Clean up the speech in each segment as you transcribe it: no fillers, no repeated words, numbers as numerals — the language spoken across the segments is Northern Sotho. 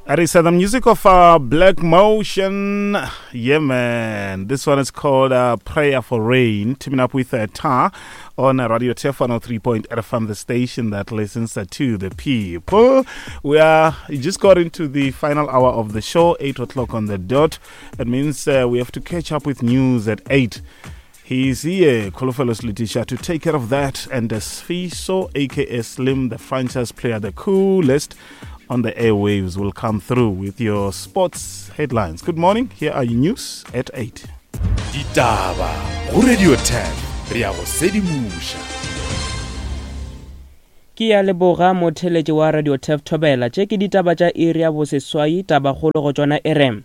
That is the music of uh, Black Motion. Yeah, man. This one is called uh, Prayer for Rain. Teaming up with uh, Tar on uh, Radio Tef 103.8 FM, the station that listens uh, to the people. We are we just got into the final hour of the show, 8 o'clock on the dot. It means uh, we have to catch up with news at 8. He's here, Kolofelos Letitia, to take care of that. And uh, Sfiso, aka Slim, the franchise player, the coolest on the airwaves, will come through with your sports headlines. Good morning. Here are your news at 8. Ditaba go Radio 10 re a go sedimoša. Ke ya leboga motheletši wa Radio Tef Thobela. Tše ke ditaba tša iri ya boseswai, tabakgolo go tšona e re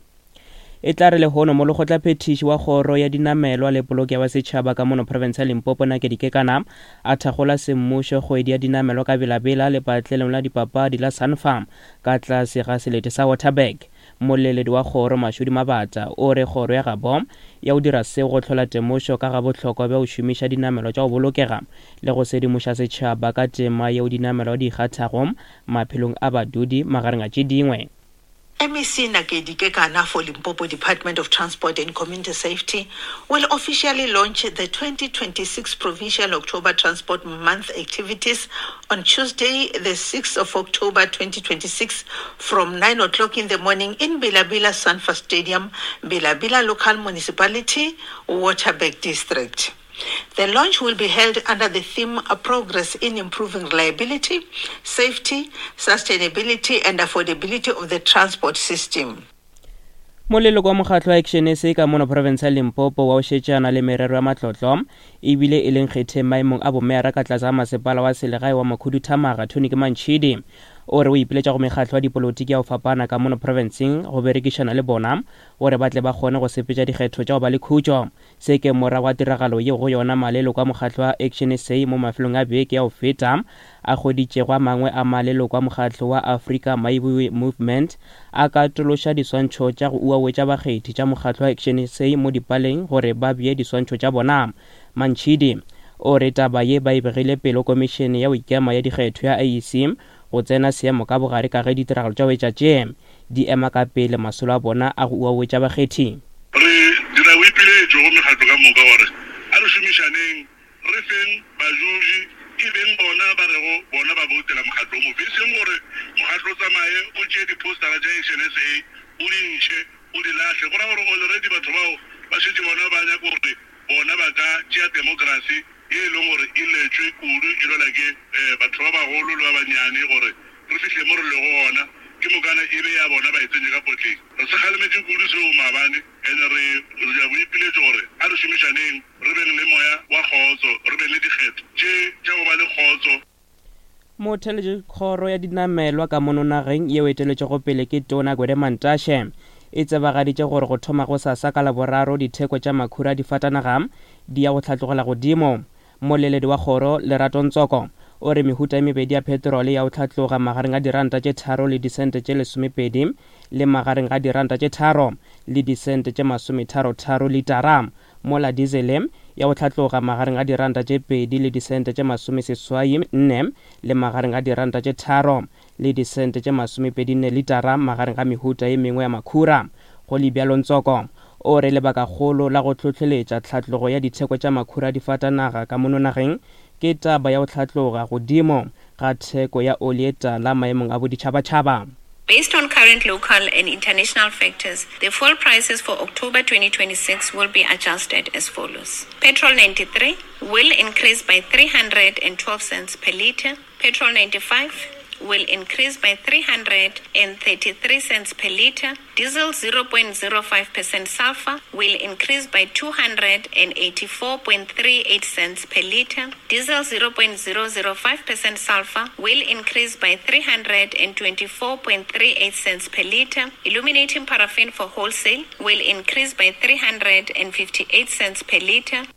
E tla re lehono molekgotlaphethiši wa kgoro ya dinamelwa le polokego ya setšhaba ka mono profense ya Limpopo Nakedi Kekana a thakgola semmušo kgwedi ya dinamelwa ka Bela-Bela lepatlelong la dipapadi la Sanfarm ka tlase ga selete sa Waterberg. Mmoleledi wa kgoro Mashudi Mabata o re kgoro ya gabo ya go dira seo go hlola temošo ka ga bohlokwa bja go šomiša dinamelwa tša go bolokega le go sedimoša setšhaba ka tema yeo dinamelwa di e kgathago maphelong a badudi magareng a tše dingwe. MEC Nakedi Kekana for Limpopo Department of Transport and Community Safety will officially launch the 2026 Provincial October Transport Month activities on Tuesday, the 6th of October 2026 from 9 o'clock in the morning in Bilabila Sanfa Stadium, Bilabila Local Municipality, Waterberg District. The launch will be held under the theme Progress in Improving Reliability, Safety, Sustainability and Affordability of the Transport System. Moleloko wa mokgatlo wa Action SA ka mono profense ya Limpopo wa go šetšana le merero ya matlotlo ebile e leng kgetheng maemong a bomeyara ka tlase ga masepala wa selegae wa Makhuduthamaga Tony Kemantšhidi o re o ipiletša go mekgatlo ya dipolotiki ya go fapana ka mono profenseng go berekišana le bona gore ba tle ba kgone go sepetša dikgetho tša go ba le khutšo Se ke morago ga tiragalo yeo go yona maleloko a mokgatlo wa Action sa mo mafelong a beke ya go feta a hweditšego a mangwe a maleloko a mokgatlo wa Africa Maibuwi Movement a katološa diswantšho tša go uawetša bakgethi tša mokgatlo wa Action sa mo dipaleng gore ba bee diswantšho tša bona. Mantšhidi o re taba ye ba e begile pele go Komišene ya go Ikema ya Dikgetho ya IEC go tsena seemo ka bogare ka ge ditiragalo tša go etša tše di ema ka pele masolo a bona a go uawetša bakgethi. Re dira boipiletšo go mekgatlo ka moka gore a re šomišaneng, re feng bajuji e beng bona ba rego bona ba boutela mokgatlo o mofe, e seng gore mokgatlo o tsamaye o tšee diphousetara tša Action SA o di ntšhe o di lahle. Go ra gore already batho bao ba šetše bona ba nyaka gore bona ba ka tšea demokrasi ye e leng gore e letšwe kudu e lwela ke batho ba bagolo le ba bannyane gore re fihle mo re lego gona, ke mokana e be ya bona ba e tsentše ka potleng. Re se kgalemetše kudu seo maabane, ene re dira boipiletšo gore a re šomišaneng, re beng le moya wa kgotso, re beng le dikgetho tše tša go ba le kgotso. Motheeletši Kgoro ya Dinamelwa ka mono nageng yeo e eteletšwego pele ke Tona Gwede Mantashe e tsebagaditše gore go thoma gosasa ka Laboraro ditheko tša makhura a difatanaga di ya go hlatlogela godimo. Mmoleledi wa kgoro, Lerato Ntsoko, o re mehuta e mebedi ya petrole ya go hlatloga magareng ga diranta tše tharo le disente tše lesomepedi le magareng ga diranta tše tharo le disente tše masometharotharo litara, mola dizele ya go hlatloga magareng ga diranta tše pedi le disente tše masomeseswai nne le magareng ga diranta tše tharo le disente tše masomepedinne litara magareng ga mehuta ye mengwe ya makhura. Go le bjalo Ntsoko o re lebakagolo la go hlohleletša tlhatlogo ya ditheko tša makhura a difatanaga ka mono nageng ke taba ya go hlatloga godimo ga theko ya oli ye tala maemong a boditšhabatšhaba. Based on current local and international factors, the fuel prices for October 2026 will be adjusted as follows. Petrol 93 will increase by 312 cents per litre, Petrol 95 will increase by 333 cents per litre. Diesel 0.05% sulfur will increase by 284.38 cents per litre. Diesel 0.005% sulfur will increase by 324.38 cents per litre. Illuminating paraffin for wholesale will increase by 358 cents per litre.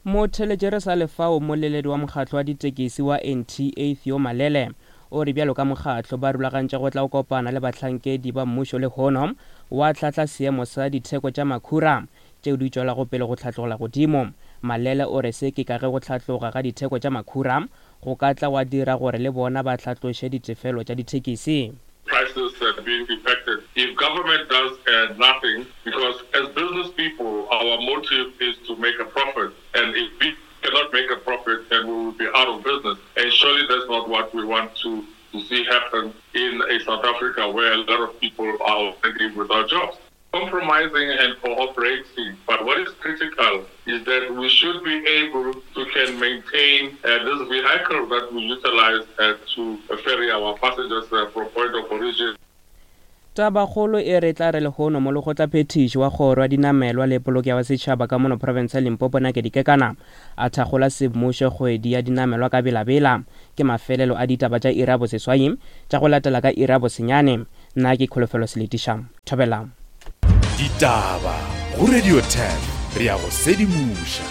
Motheeletši re sa le fao, mmoleledi wa mokgatlo wa ditekesi wa NTA Theo Malele o re bjalo ka mokgatlo ba rulagantše go tla go kopana le bahlankedi ba mmušo lehono wa hlahla seemo sa ditheko tša makhura tšeo di tšwelago pele go hlatlogela godimo. Malele o re se ke ka ge go hlatloga ga ditheko tša makhura go ka tla gwa dira gore le bona ba hlatloše ditefelo tša dithekisi. Prices have been. government does uh, nothing, because as business people, our motive is to make a profit. And if we cannot make a profit, then we will be out of business. And surely that's not what we want to, to see happen in a South Africa where a lot of people are already without jobs. Compromising and cooperating, but what is critical is that we should be able to can maintain uh, this vehicle that we utilize uh, to ferry our passengers uh, from point of origin. Tabakgolo e re tla re lehono molekgotlaphethiši wa kgoro ya dinamelwa le polokego ya setšhaba ka mono profense ya Limpopo Nakedi Kekana a thakgola semmušo kgwedi ya dinamelwa ka belabela. Ke mafelelo a ditaba tša iri ya boseswai tša go latela ka iri ya bosenyane. Nna ke Kholofelo Seletiša. Thobela. Ditaba go Radio 10 re ya go sedimoša.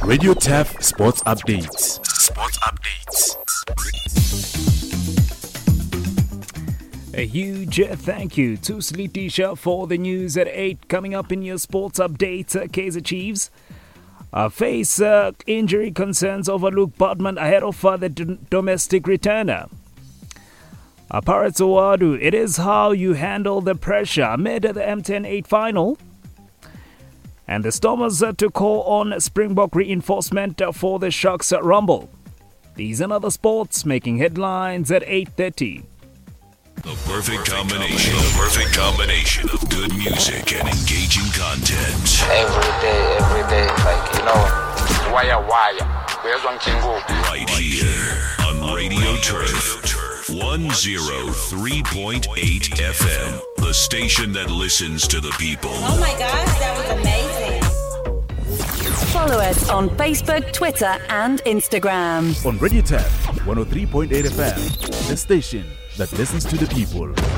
Radio Turf Sports Updates. Sports Updates. A huge thank you to Slitisha for the news at 8. Coming up in your sports updates, Kaizer Chiefs face injury concerns over Luke Baartman ahead of the domestic returner. Pirates Ouaddou, it is how you handle the pressure amid the MTN 8 final. And the Stormers to call on Springbok reinforcement for the Sharks Rumble. These and other sports making headlines at 8.30. The perfect combination. The perfect combination of good music and engaging content. Every day, every day, like, you know, wire, wire. Right here on Radio Turf 103.8 FM, the station that listens to the people. Oh my gosh, that was amazing. Follow us on Facebook, Twitter, and Instagram. On Radio Turf 103.8 FM, the station that listens to the people.